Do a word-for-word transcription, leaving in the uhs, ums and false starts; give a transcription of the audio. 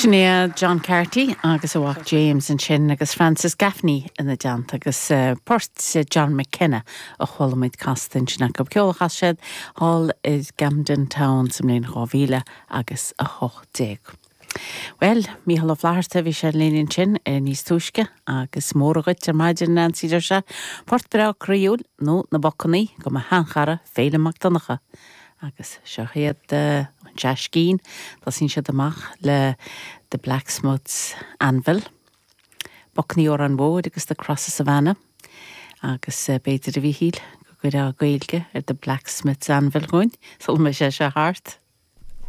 Sin é John Carty agus a mhac James ansin agus Francis Gaffney ina dteannta agus uh, port John McKenna a chuala muid casta ansin acu ceol a chas siad thall i Camden Town sa mbliain dhá mhíle agus a hocht déag. Well, Mícheál Ó Flatharta bhí sé linn ansin níos túisce agus móra dhuit ar maidin Nancy deir sé, Port breá croíúil nó na bacannaí go mo sheanchara Féilim Mac Donncha. Agus seo iad uh, an Seaiscín, Tosaíonn siad amach le The Blacksmith's Anvil. Bacannaí Órán Mór agus The Crosses of Anna. Agus uh, b'fhéidir a Mhíchíl go gcuirfeá Gaeilge ar The Blacksmith's Anvil chugainn, sul mbeidh sé seo thart.